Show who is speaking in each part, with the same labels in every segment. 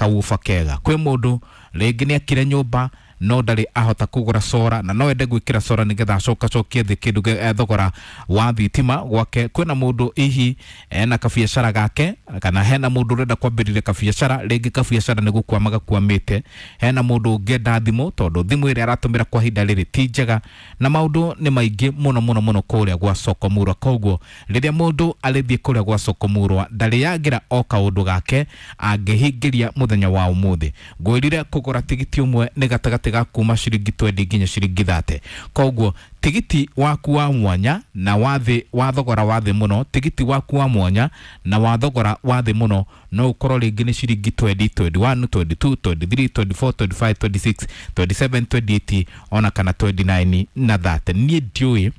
Speaker 1: kawuba kega. Kwĩ mũndũ rĩngĩ nĩ akire nyũmba no ndarĩ ahota kũgũra sora na no ende gwĩkĩra sora nĩgetha acokacokie thĩ kĩndũ thogora wa thitima gwake. Kwĩna mũndũ hihi ena kabiacara gake, kana hena mũndũ ũrenda kwambĩrĩria kabiacara, rĩngĩ kabiacara nĩ gũkwama gakwamĩte. Hena mũndũ ũngĩenda thimũ tondũ thimũ ĩrĩa aratũmĩra kwa ihinda rĩrĩ ti njega, na maũndũ nĩ maingĩ mũno mũno mũno kũrĩa gwa Soko Murwa. Koguo rĩrĩa mũndũ arĩthiĩ kũrĩa gwa Soko Murwa ndarĩagĩra o kaũndũ gake angĩhingĩria mũthenya wa ũmũthĩ. Ngwĩrire kũgũra tigiti ũmwe nĩ gatagatĩ ga kuma ciringi 20 nginya ciringi 30. Koguo tigiti waku wa mwanya na wa thĩ wa thogora wa thĩ mũno, tigiti waku wa mwanya na wa thogora wa thĩ mũno no ũkorwo rĩngĩ nĩ ciringi 20, 21, 22, 23, 24, 25, 26, 27, 28 ona kana 29 na 30. Niĩ ndiũĩ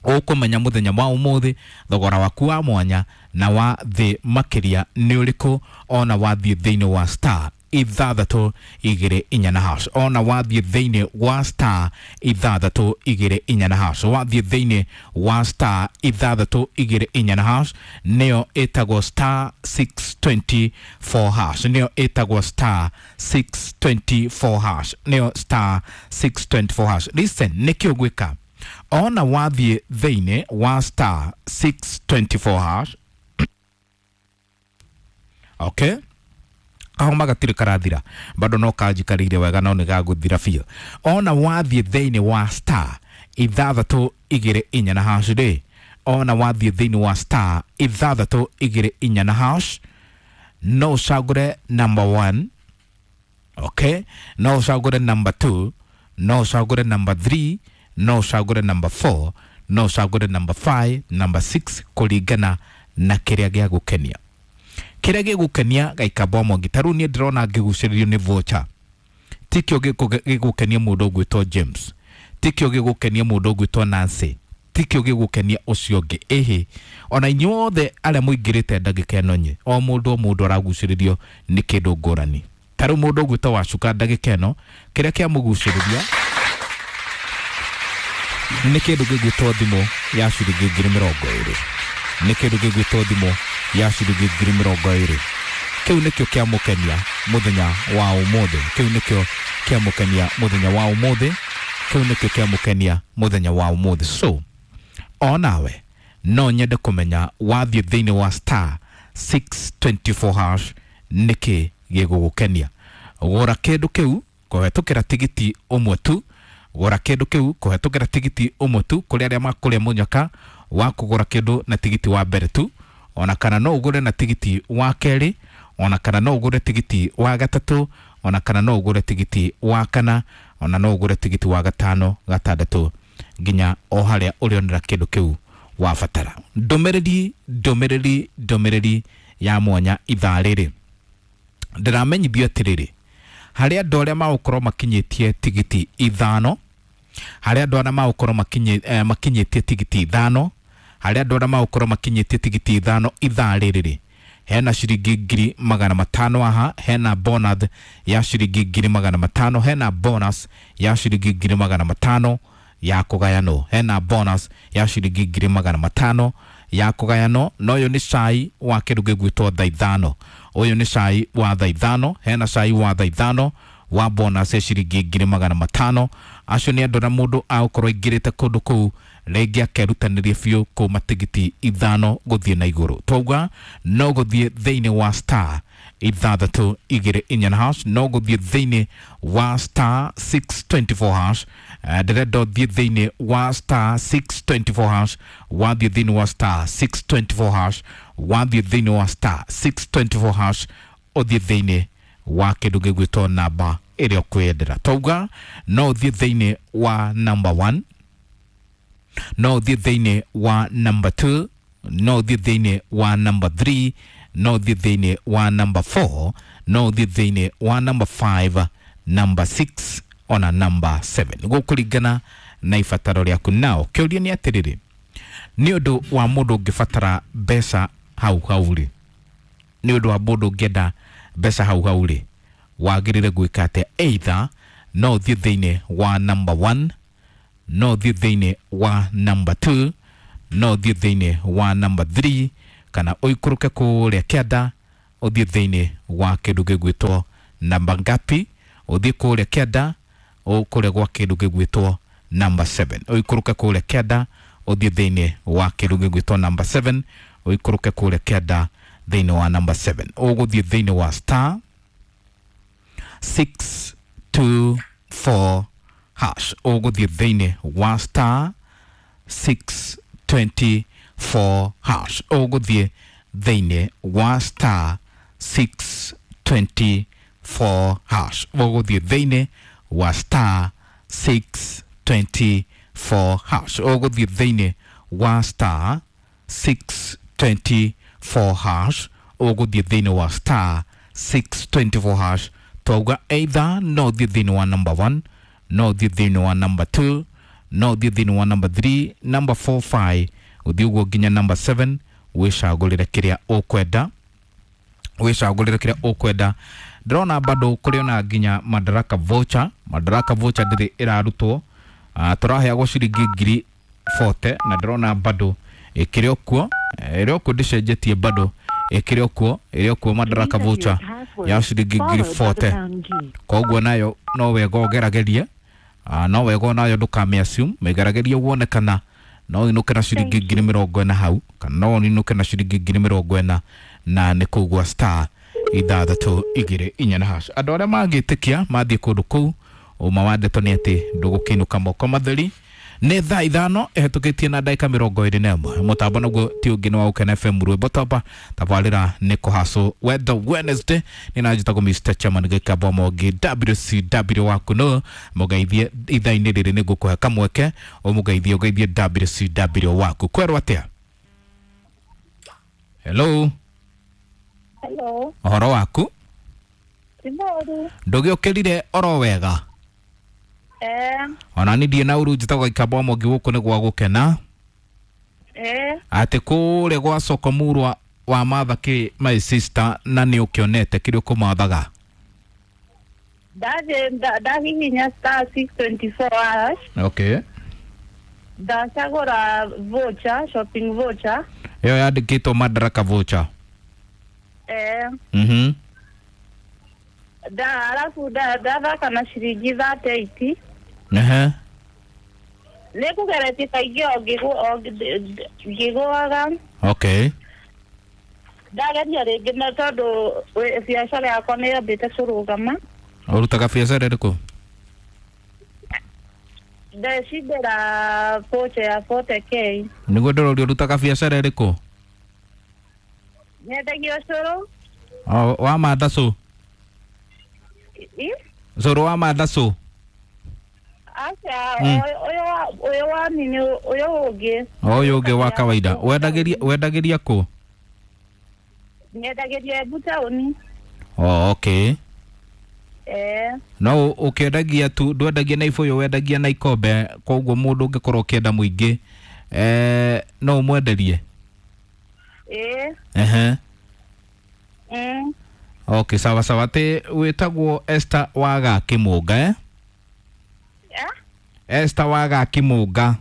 Speaker 1: ũkũmenya mũthenya wa ũmũthĩ thogora waku wa mwanya na wa thĩ makĩria nĩ ũrĩkũ, ona wathiĩ thĩinĩ wa star 624 na hash, ona wathiĩ thĩinĩ wa star 624 na hash, wathiĩ thĩinĩ wa star 624 na hash, nĩyo ĩtagwo star 624 hash, nĩyo ĩtagwo star 624 hash, nĩyo star 624 hash. Listen, nĩkĩ ũgwĩka ona wathiĩ thĩinĩ wa star 624 hash? Okay, kahoma gatirĩ karathira bado no kanjikarĩire wega no nĩ gagũthira biũ. Ona wathiĩ thĩinĩ wa star 624 na hash rĩ, ona wathiĩ thĩinĩ wa star 624 na hash, no ũcagũre number 1, okay, no ũcagũre number 2, no ũcagũre number 3, no ũcagũre number 4, no ũcagũre number 5, number 6, kũringana na kĩrĩa gĩagũkenia, kĩrĩa gĩgũkenia gaikamba mwangi. Ta rĩu niĩ ndĩrona ngĩgucĩrĩrio nĩ voucher, tikĩo gĩgũkenia mũndũ ũgwĩtwo James, tikĩo gĩgũkenia mũndũ ũgwĩtwo Nancy, tikĩo gĩgũkenia ũcio ũngĩ. Ĩhĩ, ona inyuothe arĩa mũingĩrĩte ndagĩka ĩno nyĩ, o mũndũ o mũndũ aragucĩrĩrio nĩ kĩndũ ngũrani. Ta rĩu mũndũ ũgwĩtwo Wacuka ndagĩka ĩno kĩrĩa kĩamũgucĩrĩria nĩ kĩndũ gĩgwĩtwo thimũ ya ciringi 20,000, nĩ kĩndũ gĩgwĩtwo thimũ ya ciringi 20,000. Kĩu nĩkĩo kĩamũkenia mũthenya wa ũmũthĩ, kĩu nĩkĩo kĩamũkenia mũthenya wa ũmũthĩ, kĩu nĩkĩo kĩamũkenia mũthenya wa ũmũthĩ. So onawe no nyende kũmenya wathiĩ thĩinĩ wa star 624 hash nĩkĩ gĩgũgũkenia. Gũra kĩndũ kĩu kũhetũkĩra tigiti ũmwe tu, gũra kĩndũ kĩu kũhetũkĩra tigiti ũmwe tu, kũrĩ arĩa makũrĩa mũnyaka wa kũgũra kĩndũ na tigiti wa mbere tu, ona kana no ũgũre na tigiti wa kerĩ, ona kana no ũgũre tigiti wa gatatũ, ona kana no ũgũre tigiti wa kana, ona no ũgũre tigiti wa gatano, gatandatũ, nginya o harĩa ũrĩonera kĩndũ kĩu wabatara. Ndũmĩrĩri, ndũmĩrĩri, ndũmĩrĩri ya mwanya ithaa rĩrĩ ndĩramenyithio atĩrĩrĩ, harĩ andũ arĩa magũkorwo makinyĩtie tigiti 5, harĩ andũ arĩa magũkorwo makinyĩtie tigiti 5, harĩ andũ arĩa magũkorwo makinyĩtie tigiti 5 ithaa rĩrĩ, hena ciringi 500,000 haha, hena bonus ya ciringi 500,000, hena bonus ya ciringi 500,000 ya kũgayanwo, hena bonus ya ciringi 500,000 ya kũgayanwo. Na ũyũ nĩ cai wa kĩndũ gĩgwĩtwo thaa 5, ũyũ nĩ cai wa thaa 5, hena cai wa thaa 5 wa bonus ya ciringi 500,000. Acio nĩ andũ na mũndũ agũkorwo aingĩrĩte kũndũ kũu rĩngĩ akerutanĩria biũ kuma tigiti 5 gũthiĩ na igũrũ. Twauga no gũthiĩ thĩinĩ wa star 624 hash, no gũthiĩ thĩinĩ wa star 624 hash. Ndĩrenda ũthiĩ thĩinĩ wa star 624 hash, wathiĩ thĩinĩ wa star 624 hash, wathiĩ thĩinĩ wa star 624 hash, ũthiĩ thĩinĩ wa kĩndũ gĩgwĩtwo namba ĩrĩa ũkwĩyendera. Twauga no ũthiĩ thĩinĩ wa number 1, no ũthiĩ thĩinĩ wa number 2, no ũthiĩ thĩinĩ wa number 3, no ũthiĩ thĩinĩ wa number 4, no ũthiĩ thĩinĩ wa number 5, number 6 ona number 7, gũkũringana na ibataro rĩaku. Nao kĩũria nĩ atĩrĩrĩ, nĩ ũndũ wa mũndũ ũngĩbatara mbeca hau hau rĩ, nĩ ũndũ wa mũndũ ũngĩenda mbeca hau hau rĩ, wagĩrĩire gwĩka atĩa? Either no ũthiĩ thĩinĩ wa number 1, no ũthiĩ thĩinĩ wa number 2, no ũthiĩ thĩinĩ wa number 3, kana ũikũrũke kũrĩa kĩanda Ũthiĩ thĩinĩ wa kĩndũ gĩgwĩtwo namba ngapi, ũthiĩ kũrĩa kĩanda kũrĩa gwa kĩndũ gĩgwĩtwo namba 7, ũikũrũke kũrĩa kĩanda ũthiĩ thĩinĩ wa kĩndũ gĩgwĩtwo namba 7, ũikũrũke kũrĩa kĩanda thĩinĩ wa namba 7, ũgũthiĩ thĩinĩ wa star 624 hash, ũgũthiĩ thĩinĩ wa star 624 hash, ũgũthiĩ thĩinĩ wa star 624 hash, ũgũthiĩ thĩinĩ wa star 624 hash, ũgũthiĩ thĩinĩ wa star 624 hash, ũgũthiĩ thĩinĩ wa star 624 hash. Twauga either no ũthiĩ thĩinĩ wa number 1, no ũthiĩ thĩinĩ wa number 2, no ũthiĩ thĩinĩ wa number 3, number 4, 5, ũthiĩ ũguo nginya number 7, wĩcagũrĩre kĩrĩa ũkwenda, wĩcagũrĩre kĩrĩa ũkwenda. Ndĩrona bado kũrĩ ona nginya Madaraka voucher. Madaraka voucher ndĩrĩ ĩrarutwo, tũraheagwo ciringi ngiri 40 na ndĩrona bado ĩkĩrĩ o kuo, ĩrĩ o kuo, ndĩcenjetie, bado ĩkĩrĩ o kuo, ĩrĩ o kuo Madaraka voucher ya ciringi ngiri 40. Koguo nayo no wega ũgeragerie, no wega nayo ndũkamĩ assume, mĩgeragerie wone kana no inũke na ciringi ngiri 40 hau, kana no inũke na ciringi ngiri 40, na nĩ kũu gwa star 6 2 4 na hash. Andũ arĩa mangĩtĩkia mathiĩ kũndũ kũu, ũma wa ndeto nĩ atĩ ndũgũkĩinũka moko matheri. Nĩ thaa 5 ĩhetũkĩtie na ndagĩka 21. Mũtambo naguo ti ũngĩ nĩ wa Ũkena FM, rwĩmbo toba tabarĩra nĩ kũhacũ wetho Wednesday. Nĩ na njĩtagwo Mr Chairman Gĩkabwa Mongi WCW waku, no mũgeithie ithaa-inĩ rĩrĩ nĩ ngũkũhe kamweke ũmũgeithie, ũgeithie WCW waku. Kwerwo atĩa? Hello.
Speaker 2: Hello.
Speaker 1: Ũhoro waku?
Speaker 2: Ti mũru.
Speaker 1: Ndũgĩũkĩrire oro wega? Ona ni ndiĩ na ũru, njĩtagwo Gĩkabwa Mongi, gũkũ nĩ gwa gũkena. Atĩ kũrĩa gwa soko murwa wa matha kĩ my sister, na nĩ ũkĩonete kĩrĩa ũkũmathaga?
Speaker 2: Ndathiĩ ndahihinya star 624 hash.
Speaker 1: Okay.
Speaker 2: Ndacagũra voucher, shopping voucher.
Speaker 1: Ĩyo yandĩkĩtwo Madaraka voucher.
Speaker 2: Da alafu ndathaka na ciringi 38.
Speaker 1: Ehe.
Speaker 2: Nĩ kũgeretie kaingĩ o ngĩgũaga.
Speaker 1: Okay.
Speaker 2: Ndageria rĩngĩ na tondũ biacara yakwa nĩ yambĩte kũrũgama.
Speaker 1: Ũrutaga biacara ĩrĩkũ?
Speaker 2: Ndecindĩra voucher ya 40K.
Speaker 1: Nĩguo ndĩroria, ũrutaga biacara ĩrĩkũ?
Speaker 2: Nyendagia ũcũrũ.
Speaker 1: O, wa matha cũ? Cũrũ wa matha cũ?
Speaker 2: Aca, ũyũ wa nini, ũyũ ũngĩ.
Speaker 1: Ũyũ ũngĩ wa kawaida. Wendagĩria kũ?
Speaker 2: Nyendagĩria Embu taũni.
Speaker 1: Oh, okay. No ũkĩendagia tu, ndwendagia na ibũyũ, wendagia na ikombe, koguo mũndũ ũngĩkorwo ũkĩenda mũingĩ, no ũmwenderie? Ehe. Okay, sawa sawa. Atĩ wĩtagwo Esther wa Gakĩmũnga, eh? Esther wa Gakĩmũnga.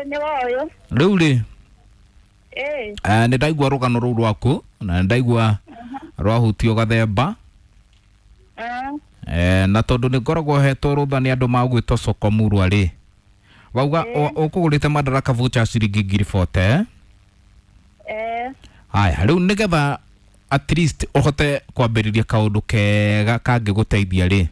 Speaker 2: Nĩ woyũ.
Speaker 1: Rĩu rĩ, nĩ ndaigua rũgano rũu rwaku na nĩ ndaigua rwahutio gathemba. Na tondũ nĩ ngoragwo hetwo rũtha nĩ andũ magwĩtwo soko murwa rĩ, wauga ũkũgũrĩte Madaraka voucher ciringi ngiri 40, eh? Haya, rĩu nĩgetha at least ũhote kwambĩrĩria kaũndũ kega kangĩgũteithia rĩ,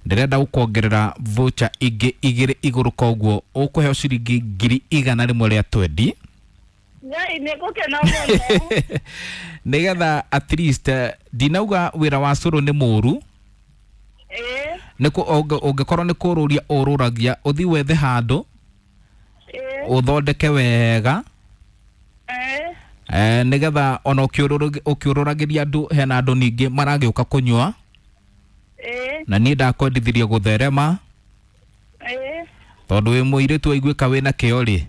Speaker 1: ndĩrenda gũkuongerera voucher ingĩ 2 igũrũ, koguo ũkũheo ciringi ngiri 120.
Speaker 2: Ngai, nĩ ngũkena mũno.
Speaker 1: Nĩgetha at least, ndinauga wĩra wa cũrũ nĩ mũru, ũngĩkorwo nĩ kũrũria ũrũragia, ũthiĩ wethe handũ ũthondeke wega, nĩgetha ona ũkĩũrũragĩria andũ, hena andũ ningĩ maragĩũka kũnyua, na niĩ ndakwendithirie gũtherema, tondũ wĩ mũirĩtu waiguĩka wĩna kĩo rĩ,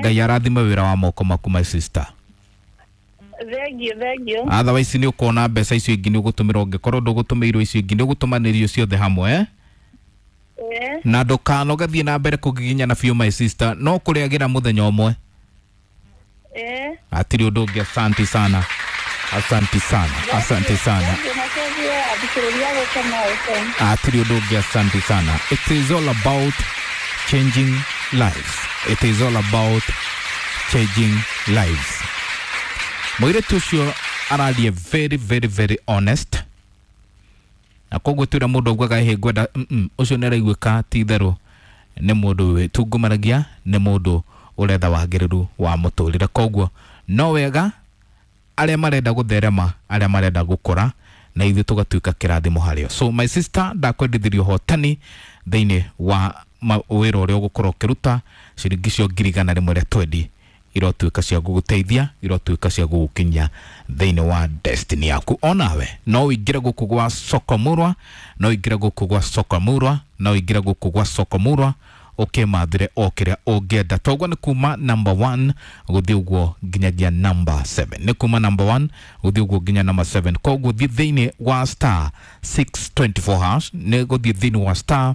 Speaker 1: Ngai arathime wĩra wa moko maku my sister.
Speaker 2: Thank you, thank you.
Speaker 1: Otherwise nĩ ũkuona mbeca icio ingĩ nĩ ũgũtũmĩra, ũngĩkorwo ndũgũtũmĩirwo icio ingĩ nĩ ũgũtũmanĩrio ciothe hamwe, eh? Na ndũkanoge, thiĩ na mbere kũgiginyana biũ my sister, no kũrĩagĩra mũthenya ũmwe. Hatirĩ ũndũ ũngĩ, asanti sana, asanti sana, asanti sana. Hatirĩ ũndũ ũngĩ, asanti sana. It is all about changing lives. It is all about changing lives. Mũirĩtu ũcio araria very very very honest, na koguo twĩra mũndũ augaga hĩ ngwenda ũcio nĩ araiguĩka ti itherũ nĩ mũndũ wĩtungumanagia, nĩ mũndũ ũretha wagĩrĩru wa mũtũrĩre. Koguo no wega arĩa marenda gũtherema, arĩa marenda gũkũra, na ithuĩ tũgatuĩka kĩrathimo harĩo. So my sister, ndakwendithirie ũhotani thĩinĩ wa wĩra ũrĩa ũgũkorwo ũkĩruta. Ciringi icio 120,000 rĩa twendi irotuĩka cia gũgũteithia, irotuĩka cia gũgũkinyia thĩinĩ wa destiny yaku. Onawe no ũingĩre gũkũ gwa Soko Murwa, no ũingĩre gũkũ gwa Soko Murwa, no ũingĩre gũkũ gwa Soko Murwa ũkĩmathĩre o kĩrĩa ũngĩenda. Toguo nĩ kuma number 1 gũthiĩ ũguo nginyagia number 7, nĩ kuma number 1 gũthiĩ ũguo nginya number 7. Koguo thiĩ thĩinĩ wa star 624 hash, nĩ gũthiĩ thĩinĩ wa star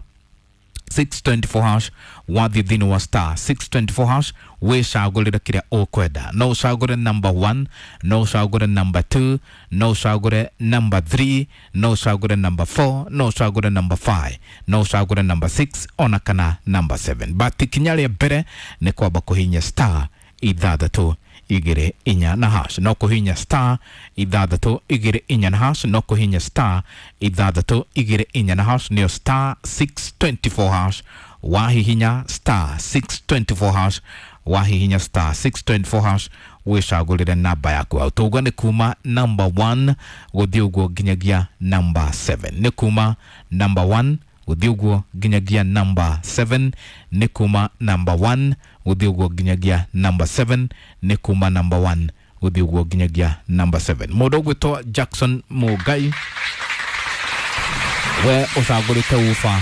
Speaker 1: 624 hash, wathiĩ thĩinĩ wa star 624 hash wĩcagũrĩre kĩrĩa ũkwenda. No ũcagũre number 1, no ũcagũre number 2, no ũcagũre number 3, no ũcagũre number 4, no ũcagũre number 5, no ũcagũre number 6 ona kana number 7. But ikinya rĩa mbere nĩ kwamba kũhihinya star 624 na hash, no kũhihinya star 624 na hash, no kũhihinya star 624 na hash, nĩyo star 624 hash. Wahihinya star 624 hash, wahihinya star 624 hash wĩcagũrĩre namba yaku hau. Tauga nĩ kuma number 1 gũthiĩ ũguo nginyagia number 7, nĩ kuma number 1 gũthiĩ ũguo nginyagia number 7, nĩ kuma number 1 gũthiĩ ũguo nginyagia number 7, nĩ kuma number 1 gũthiĩ ũguo nginyagia number 7. Mũndũ ũgwĩtwo Jackson Mũngai, we ũcagũrĩte uba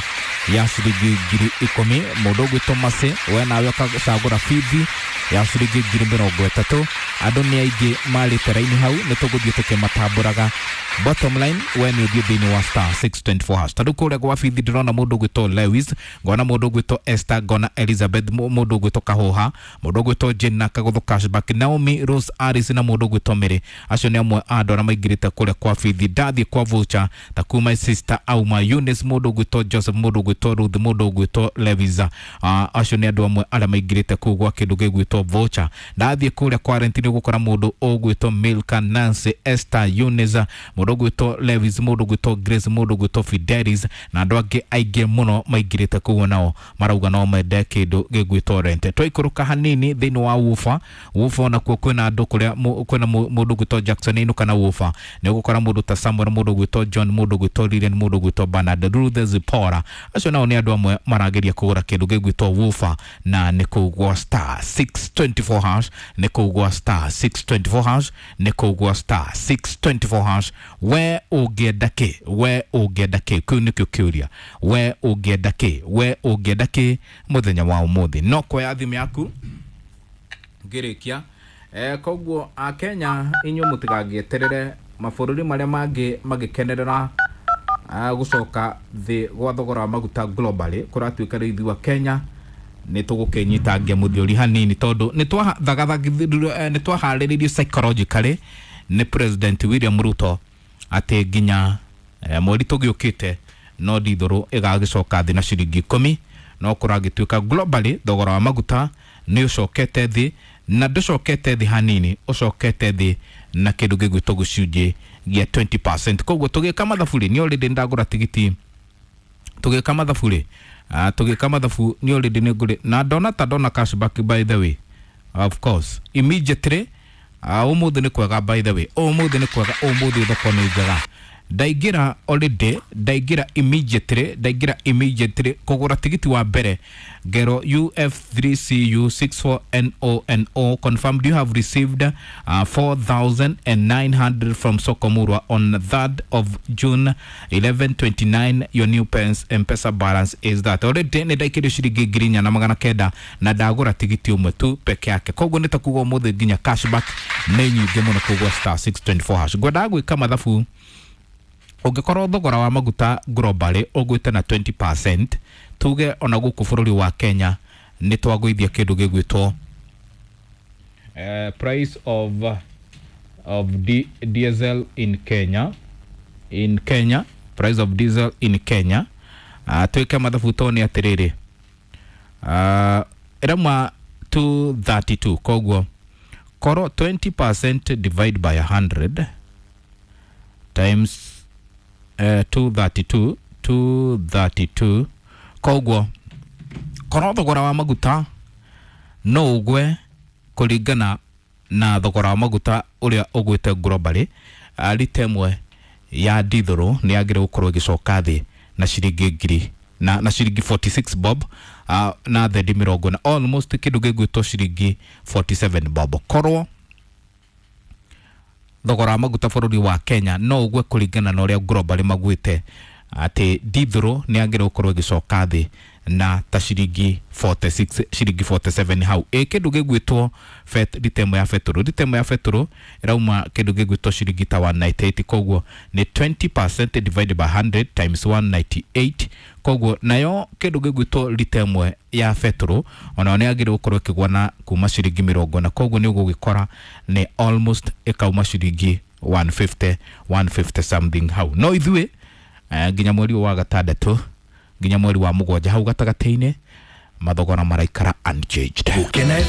Speaker 1: ya ciringi 10,000. Mũndũ ũgwĩtwo Masi, we nawe ũgacagũra bithi ya ciringi 30,000. Andũ nĩ aingĩ marĩte raini hau, nĩ tũgũthiĩ tũkĩmatambũraga. Bottom line, we nĩ ũthiĩ thĩinĩ wa star 624 hash. Tarĩu kũrĩa gwa bithi ndĩrona mũndũ ũgwĩtwo Lewis, ngona mũndũ ũgwĩtwo Esther, ngona Elizabeth, mũndũ ũgwĩtwo Kahũha, mũndũ ũgwĩtwo Jane na Kagũthũ Cashback, Naomi Rose Aris na mũndũ ũgwĩtwo Mary. Acio nĩ amwe a andũ arĩa maingĩrĩte kũrĩa kwa bithi. Ndathiĩ kwa voucher ta kuma sister Auma Eunice, mũndũ ũgwĩtwo Joseph, mũndũ ũgwĩtwo Ruth, mũndũ ũgwĩtwo Levisa. Acio nĩ andũ amwe arĩa maingĩrĩte kũu gwa kĩndũ gĩgwĩtwo voucher. Ndathiĩ kũrĩa kwa rent nĩ ũgũkora mũndũ ũgwĩtwo Milka, Nancy, Esther, Eunice, mũndũ ũgwĩtwo Lewis, mũndũ ũgwĩtwo Grace, mũndũ ũgwĩtwo Fidelis na andũ angĩ aingĩ mũno maingĩrĩte kũu, nao marauga no mende kĩndũ gĩgwĩtwo rent. Twaikũrũka hanini thĩinĩ wa wufa, wufa onakuo kwĩna andũ kũrĩa kwĩna mũndũ ũgwĩtwo Jackson ainũka na wufa, nĩ ũgũkora mũndũ ta Samuel, mũndũ ũgwĩtwo John, mũndũ ũgwĩtwo Lilian, mũndũ ũgwĩtwo Bernard, Ruth Zipporah. Acio nao nĩ andũ amwe marageria kũgũra kĩndũ gĩgwĩtwo wufa, na nĩ kũu gwa star 624 hash, nĩ kũu gwa star 624 hash, nĩ kũu gwa star 624 hash. We ũngĩenda kĩ? We ũngĩenda kĩ? Kĩu nĩkĩo kĩũria. We ũngĩenda kĩ? We ũngĩenda kĩ mũthenya wa ũmũthĩ? No kuoya thimũ yaku ngĩrĩkia. Koguo akenya inyuĩ mũtigagĩeterere mabũrũri marĩa mangĩ magĩkenerera gũcoka thĩ gwa thogora wa maguta globally, kũratuĩka rĩu ithuĩ a Kenya nĩ tũgũkĩnyitangia mũthiori hanini, tondũ nĩ twaharĩrĩirio psychologically nĩ President William Ruto atĩ nginya mweri tũgĩũkĩte no ndithũrũ ĩgagĩcoka thĩ na ciringi 10. No kũragĩtuĩka globally thogora wa maguta nĩ ũcokete thĩ, na ndũcokete thĩ hanini, ũcokete thĩ na kĩndũ gĩgwĩtwo gĩcunjĩ gĩa 20%. Koguo tũgĩka mathabu rĩ, nĩ already ndagũra tigiti, tũgĩka mathabu rĩ, tũgĩka mathabu nĩ already nĩ ngũrĩ na ndona ta ndona cashback, by the way, of course immediately. Ũmũthĩ nĩ kwega, by the way, ũmũthĩ nĩ kwega, ũmũthĩ thoko nĩ njega. Ndaingĩra already, ndaingĩra immediately, ndaingĩra immediately kũgũra tigiti wa mbere ngero UF3CU64NONO confirmed you have received 4,900 from Soko Murwa on 3rd of June 11:29. Your new pens M-Pesa balance is that. Already nĩ ndaikĩrio ciringi 4,900 na ndagũra tigiti ũmwe tu peke yake. Koguo nĩ ta kuga ũmũthĩ nginya cashback nĩ nyingĩ mũno kũgwa star 624 hash. Ngwendaga gwĩka mathabu, ũngĩkorwo thogora wa maguta globally ũgwĩte na 20%, tuge ona gũkũ bũrũri wa Kenya nĩ twagũithia kĩndũ gĩgwĩtwo Price of diesel in Kenya, in Kenya, price of diesel in Kenya. Twĩke mathabu tone atĩrĩrĩ, ĩrauma 232, koguo korwo 20% divide by 100 times 232, 232, koguo korwo thogora wa maguta no ũgwe kũringana na thogora wa maguta ũrĩa ũgwĩte globally, rita ĩmwe ya ndithũrũ nĩ yagĩrĩirwo gũkorwo ĩgĩcoka thĩ na ciringi ngiri na ciringi 46 bob, na thendi mĩrongo na almost kĩndũ gĩgwĩtwo ciringi 47 bob. Korwo thogora wa maguta bũrũri wa Kenya no ũgwe kũringana na ũrĩa globally magwĩte, atĩ ndithũrũ nĩ yagĩrĩirwo gũkorwo ĩgĩcoka thĩ na ta ciringi 46, ciringi 47 hau. Ĩ kĩndũ gĩgwĩtwo rita ĩmwe ya betũrũ, rita ĩmwe ya betũrũ ĩrauma kĩndũ gĩgwĩtwo ciringi ta 198, koguo nĩ 20% divided by 100 times 198, koguo nayo kĩndũ gĩgwĩtwo rita ĩmwe ya betũrũ onayo nĩ yagĩrĩirwo gũkorwo ĩkĩgwa na kuma ciringi mĩrongo na, koguo nĩ ũgũgĩkora nĩ almost ĩkauma ciringi 150, 150 something hau. No ithuĩ nginya mweri wa gatandatũ nginya mweri wa mũgwanja hau gatagatĩ-inĩ mathogora maraikara unchanged.
Speaker 3: Gukena.